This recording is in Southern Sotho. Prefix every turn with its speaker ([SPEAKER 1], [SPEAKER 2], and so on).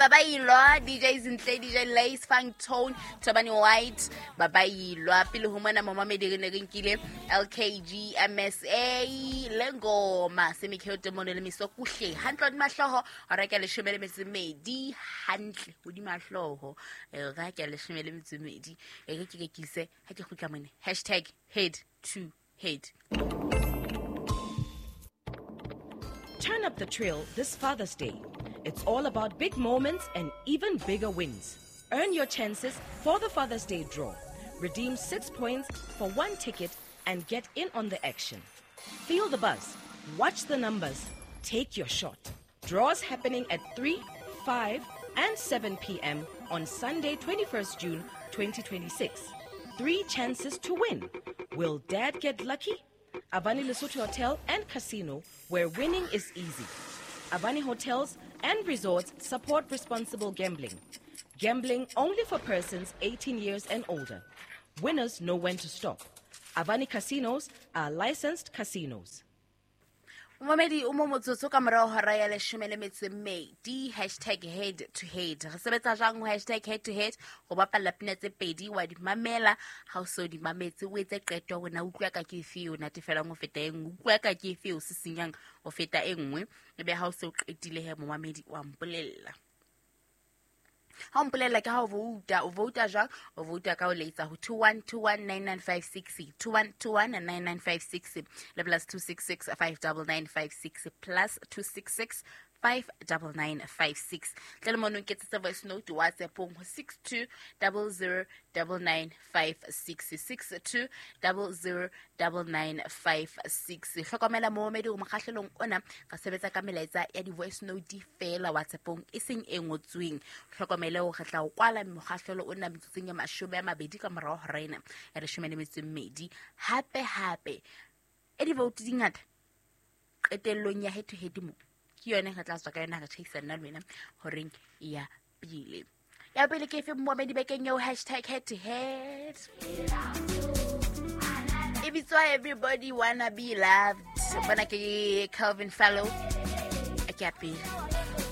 [SPEAKER 1] Babailwa, DJ Zintle, DJ Lace, Funk Tone, Tobani White, Babailwa. Pele ho mona momamedi re ne re nkile LKG MSA le ngoma Semikheo Mono le Miso Kuhle. Hantle hodima hlooho, hora ke ya leshome le metso e mmedi. Hantle hodima hlooho. Hora ke ya leshome le metso e mmedi. E re ke rekise ha ke kgutla mone. Hashtag head to head.
[SPEAKER 2] Turn up the trail this Father's Day. It's all about big moments and even bigger wins. Earn your chances for the Father's Day draw. Redeem 6 points for 1 ticket and get in on the action. Feel the buzz, watch the numbers, take your shot. Draws happening at 3, 5, and 7 p.m. on Sunday, 21st June 2026. 3 chances to win. Will Dad get lucky? Avani Lesotho Hotel and Casino, where winning is easy. Avani Hotels and Resorts support responsible gambling. Gambling only for persons 18 years and older. Winners know when to stop. Avani Casinos are licensed casinos.
[SPEAKER 1] Momedi o mo motsotso ka morao hora ya leshome le metso e mmedi. Hashtag head to head. Re sebetsa jwang ho hashtag head to head? Go bapalla pina tse pedi, wa di mamela. Ha o so di mametse, o etse qeto hore na utlwa ka ke efe o natefelang ho feta e nngwe, utlwa ka ke efe o sisinyang ho feta e nngwe. Ebe ha o se o qetile he, momamedi, wa mpolella. Ha o mpolella ke ha o vouta. O vouta jwang? O vouta ka ho letsa ho 21219956, 21219956 le plus 266 59956, plus 266 59956. Tle le mono nketsetse voice note WhatsAppong ho 62009956, 62009956. Hlokomela momedi, mokgahlelong ona re sebetsa ka melaetsa ya di-voice note feela WhatsAppong, e seng e ngotsweng. Hlokomele hore re tla o kwala mokgahlelo ona metsotsong ya 20 ka morao hora ena ya leshome le metso e mmedi. Hape hape e di-vote di ngata qetellong ya head to head mo ke yone re tla tswa ka yona, re tjhaisa nna le wena horeng ya pele. Ya pele ke efe momedi bekeng eo? Hashtag head to head e bitswa Everybody Wanna Be Loved. Bona ke Calvin Fallow. A ke ya pele.